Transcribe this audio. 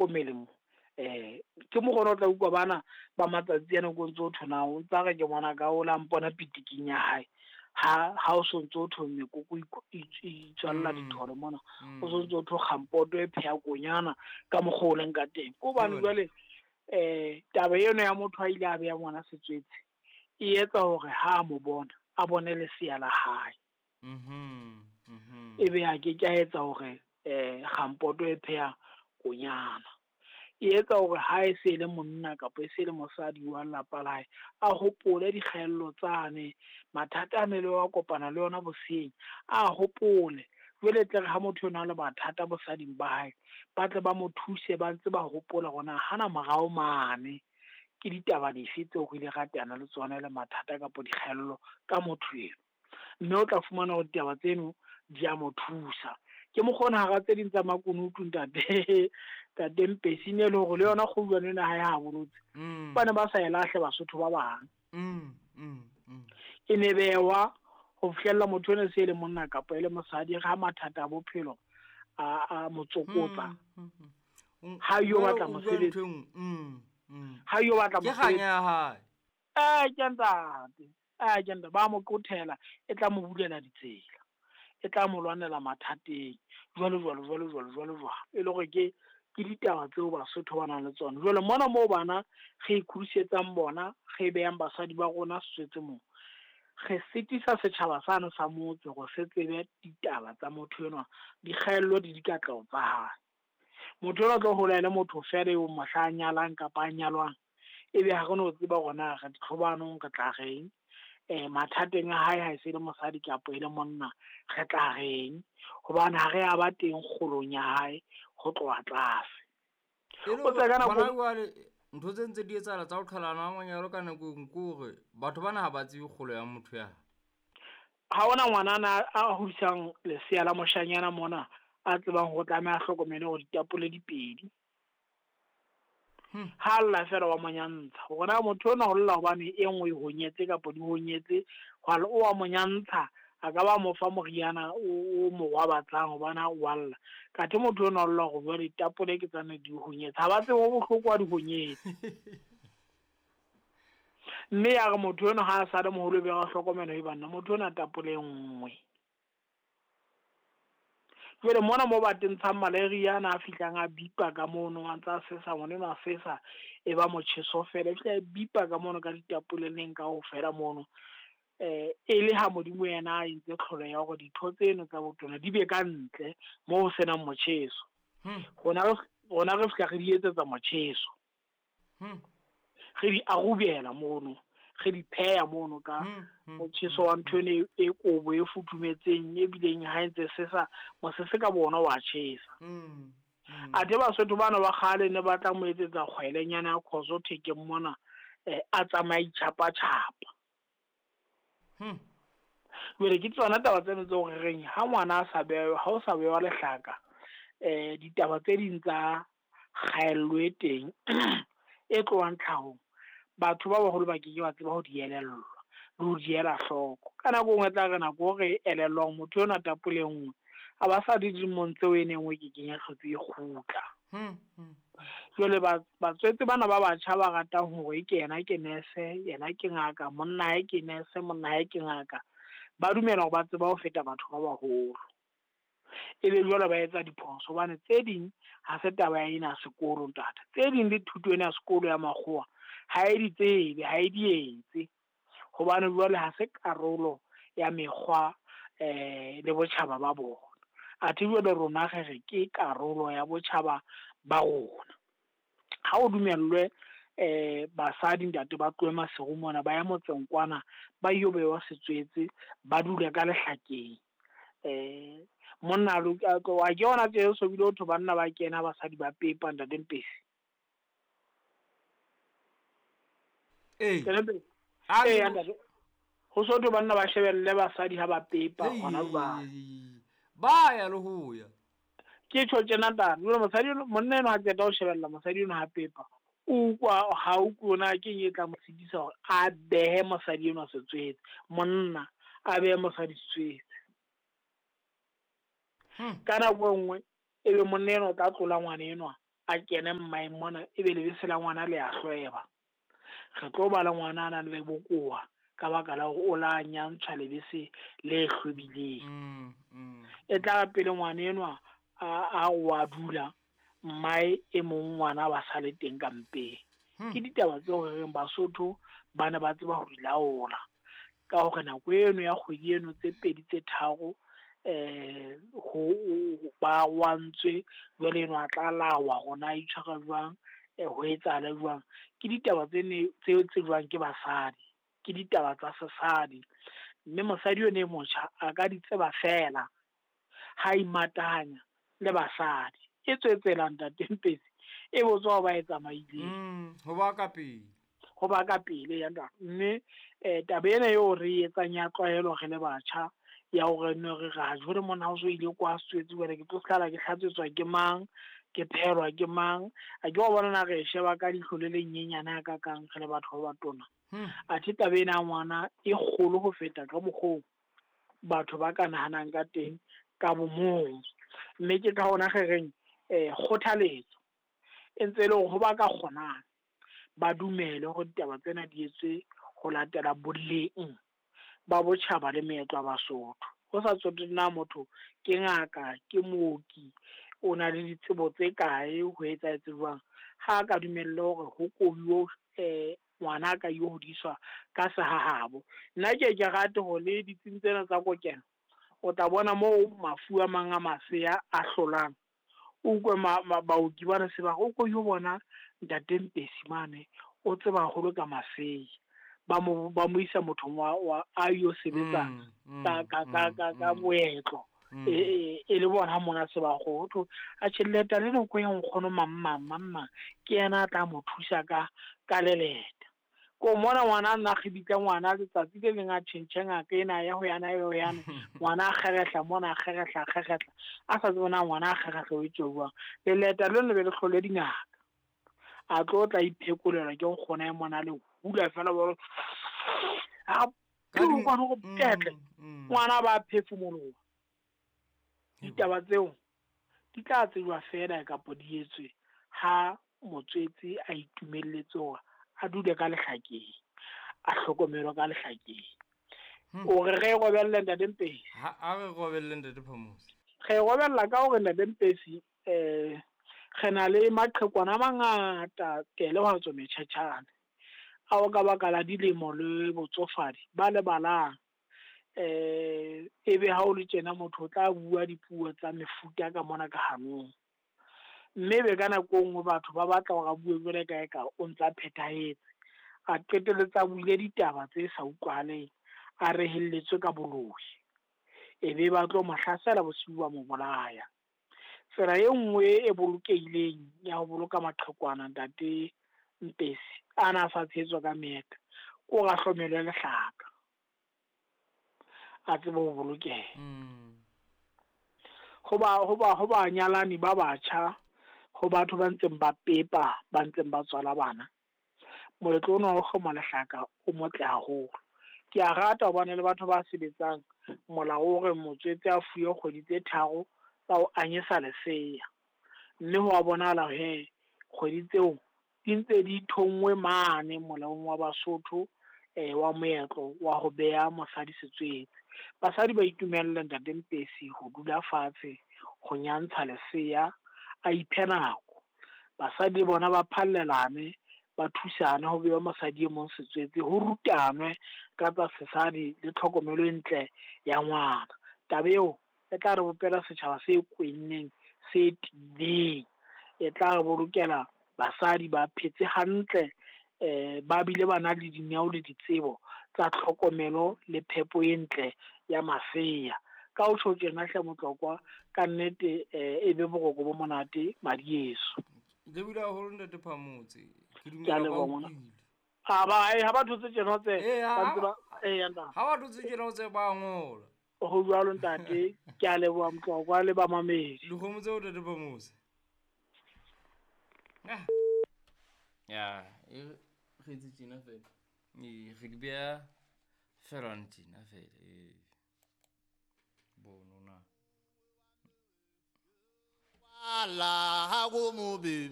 Hlokomele mo. Ke mokgona o tla utlwa bana ba matsatsi ana ko ntso thwe na o ntsa re ke ngwana ka o la mpona pitiking ya hae. Ha o sontso o thwe mekoko itswalla ditholo mona. O sontso o thwe kgampoto e pheha konyana ka mokgwa o leng ka teng. Ke hobane jwale taba eno ya motho a ile a beha ngwana setswetse e etsa hore ha a mo bona a bone lesea la hae. Ebe a ke ke a etsa hore kgampoto e pheha konyana. E etsa hore ha e se le monna kapa e se le mosadi wa lelapa la hae, a hopole dikgaello tsane, mathata a ne le wa kopana le yona boseng, a hopole. Jwale tle re ha motho ena le mathata bosading ba hae, ba tle ba mo thuse ba ntse ba hopola hore na hana morao mane ke ditaba dife tseo re ile ra teana le tsona le mathata kapa dikgaello ka motho eno. Mme o tla fumana hore ditaba tseno di a mo thusa. Ke mokgona hara tse ding tsa makunutu ntate ntate Mpesi ne le hore le yona kgouwane ena ha e habolotse. Ba ne ba sa e lahle Basotho ba bang. E ne bewa ho fihlella motho ena se e le monna kapa e le mosadi ha mathata a bophelo a mo tsokotsa. Ha yo batla mosebetsi. Ha yo batla mosebetsi. Ke kganya ya hae. Ke ntate. Ke ntate ba mo qothela e tla mo bulela ditsela. E tla mo lwanela mathateng jwalo jwalo jwalo jwalo jwalo jwalo. E le hore ke ditaba tseo Basotho ba nang le tsona. Jwale mona moo bana re ikgodisetsang bona, re behang basadi ba rona setswetse moo. Re sitisa setjhaba sane sa motse hore se tsebe ditaba tsa motho enwa, dikgaello le dikatleho tsa hae. Motho enwa o tlo hola e le motho feela eo mohla a nyalang kapa a nyalwang, ebe ha re no tseba hore na re ditlhobanong re tla reng, mathateng a hae ha e se le mosadi kapa e le monna re tla reng, hobane ha re a ba teng kgolong ya hae ho tloha tlase. O tla ka nako ntho tse ntse di etsahala tsa ho qhalana ha manyalo ka nako e nngwe ke hore batho bana ha ba tsebe kgolo ya motho ya. Ha hona ngwanana a hodisang lesea la moshanyana mona a tsebang hore tlameha a hlokomele hore ditapole di pedi. Ha lla fela wa monyantsha. Hore na motho ona o lla hobane e nngwe e honyetse kapa di honyetse, hwale o wa monyantsha, a ka ba mo fa moriana o mo robatsang hobane ha o wa lla. Kathe motho ona o lla hore jwale ditapole ke tsane di honyetse. Ha ba tsebe ho bohloko ha di honyetse. Mme ya re motho eno ha a sa le moholo be ra hlokomela e banna, motho ona tapole e nngwe. Jwale mona mo ba tentshang malaria ana a fihlang a bipa ka mono, a ntsa sesa, ngwana enwa a sesa, e ba motjheso fela, e fihla e bipa ka mono ka ditapoleleng kaofela mono. E le ha Modimo yena a entse tlholo ya hore ditho tseno tsa botona di be ka ntle moo ho senang motjheso. Rona re fihla re di etsetsa motjheso. Re di arubela mono, re di pheha mono ka motjheso wa ntho eno e kobo e futhumetseng e bileng ha e ntse sesa, mosese ka bona wa tjhesa. Athe Basotho bana ba kgale ne ba tla mo etsetsa kgwelenyana ya khoso thekeng mona, a tsamaye tjhapa-tjhapa. Jwale ke tsona taba tseno tse re reng ha ngwana a sa bewa, ha o sa bewa lehlaka, ditaba tse ding tsa kgaello e teng e tlohang tlhahong, batho ba baholo ba ke ke ba tseba ho di elellwa le ho di ela hloko. Ka nako e nngwe tla re nako re elellwang motho enwa tapole e nngwe, a ba sa di dilemong tseo e neng e ke kenya hlotse e kgutla. Jwale batswetse bana ba batjha ba ratang hore ke yena ke nurse, yena ke ngaka, monna hae ke nurse, monna hae ke ngaka, ba dumela hore ba tseba ho feta batho ba baholo. Ebe jwale ba etsa diphoso hobane tse ding ha se taba ena ya sekolo ntate. Tse ding le thuto ena ya sekolo ya makgowa ha e di tsebe, ha e di etse. Hobane jwale ha se karolo ya mekgwa le botjhaba ba bona. Athe jwale rona re re ke karolo ya botjhaba ba rona. Ha o dumellwe basadi ntate ba tlohe Maseru mona ba ye motseng kwana ba yo bewa setswetse ba dule ka lehlakeng. Monna a wa ke yona tje so bile ho thwe banna ba kena basadi ba pepa ntate Mpesi. Ntate. Ho so thwe banna ba shebelle basadi ha ba pepa hona jwale. Ba ya le ho ya. Ke tjho tjena ntate, jwale mosadi monna enwa ha qeta ho shebella mosadi enwa ha pepa, o utlwa ha utlwe na ke eng e tla mo sitisa hore a behe mosadi enwa setswetse, monna a behe mosadi setswetse. Ka nako e nngwe ebe monna enwa o tla tlola ngwana enwa a kene mmaeng mona, ebe lebese la ngwana le a hlweba. Re tlo ba le ngwana a nang le bokowa ka baka la hore o la nyantshwa lebese le hlwebileng. E tla pele ngwana enwa a wa dula, mmae e mong ngwana ba sale teng ka mpeng. Ke ditaba tseo re reng Basotho ba ne ba tseba ho di laola ka hore nako eno ya kgwedi eno tse 2 tse 3 ho ba wantswe, jwale eno a tla lawa hore na itshwara jwang, ho etsahala jwang. Ke ditaba tse ne tse tsejwang ke basadi, ke ditaba tsa sesadi, mme mosadi eno e motjha a ka di tseba fela ha imatahanya le basadi. E tswetsela Ntate Mpetsi e botswa ho ba e tsamaileng, ho ba ka pele, ho ba ka pele ya ntate. Mme taba ena eo re etsang ya tlwaelo re le batjha ya hore ne re ra jwale mona ho so ile kwa setswetse, jwale ke tlo hlala ke hlatswetswa ke mang, ke phelwa ke mang. A ke wa bona na re sheba ka leihlo le le nyenyane ha kakang re le batho ba batona. Athe taba ena ya ngwana e kgolo ho feta ka mokgo batho ba ka nahanang ka teng ka bomong. Mme ke ka hona re reng kgothaletso e ntse e le hore ho ba ka kgonang ba dumele hore ditaba tsena di etswe ho latela boleng ba botjhaba le meetlo ya Basotho. Ho sa tsotelle na motho ke ngaka, ke mooki, o na le ditsebo tse kae, ho etsahetse jwang, ha a ka dumelle hore ho kobiwe ngwana a ka yo hodiswa ka sehahabo. Nna ke ke rate hore le ditsing tsena tsa kokelo o tla bona moo mafu a mang a masea a hlolang, o utlwe baoki bana se ba re o ko yo bona Ntate Mpesi mane, o tseba haholo ka masea. Ba mo isa mothong wa a yo sebetsa ka moetlo. E le bona mona se ba go thwe a tjhelete le nako ya nkgono mang ke yena a tla mo thusa ka leleta. Ko mona ngwana nna kgibitla ngwana letsatsi le leng a tjhentjhe ngaka ena ya ho yana ya ho yana, ngwana a kgerehla mona, a kgerehla, a sa tsebe na ngwana a kgerehla o etswe jwang. Leleta le le be le hlole dingaka, a tlo tla iphekolelwa ke nkgono ya mona le hula fela ba a ngwana go petle, ngwana ba phefumoloha. Ditaba tseo di tla tsejwa fela kapa di etswe ha motswetse a itumelletse hore a dule ka lehlakeng, a hlokomelwe ka lehlakeng. O re re robelle Ntate Mpesi? Ha re robelle Ntate Phamotse. Re robella ka hore Ntate Mpesi re na le maqhekwana a mangata tele ho tswa metjhatjhane ao ka baka la dilemo le botsofadi ba lebalang. Ebe ha o le tjena motho o tla bua dipuo tsa mefuta ka mona ka hanong, mme be ka nako e nngwe batho ba batla hore a bue jwale ka eka o ntsa phethahetse, a qetelletse a buile ditaba tse sa utlwahaleng, a rehelletswe ka boloi, ebe ba tlo mo hlasela bosiu ba mo bolaya. Tsela e nngwe e bolokehileng ya ho boloka maqhekwana Ntate Mpesi a na sa tshehetswa ka meetlo, ke hore a hlomelwe lehlaka, a tsebe ho bolokeha. Ho ba nyalani ba batjha, ho batho ba ntseng ba pepa, ba ntseng ba tswala bana, moetlo ona wa ho hloma lehlaka o motle haholo. Ke a rata hobane le batho ba sebetsang molao o re motswetse a fuwe kgwedi tse 3 tsa ho anyesa lesea, mme ho a bonahala he kgwedi tseo di ntse di thonngwe mane molaong wa Basotho wa moetlo wa ho beha mosadi setswetse. Basadi ba itumelle Ntate Mpesi ho dula fatshe ho nyantsha lesea, a iphe nako. Basadi le bona ba phallelane, ba thusane ho beha mosadi e mong setswetse, ho rutanwe ka tsa sesadi le tlhokomelo e ntle ya ngwana. Taba eo e tla re bopela setjhaba se kwenneng, se tiileng, e tla re bolokela basadi ba phetse hantle, ba bile ba na le dineo le ditsebo tsa tlhokomelo le phepo e ntle ya masea. Ka ho tjho tjena hle Motlokwa, ka nnete e be boroko bo monate madieso. Le bula haholo Ntate Phamotse. Ke Ke a dumela leboha ba ngwana. utlwile. Ha ba thotse tjena tse, ba ntse ba, ntate. Ha ba thotse tjena tse ba ngola. Ho jwalo ntate, ke a leboha Motlokwa le ba mamedi. Dikgomo tseo Ntate Phamotse. Ya, e re etse tjena fela. Re di beha fela tjena fela. Bono na. La ha go mo bebe.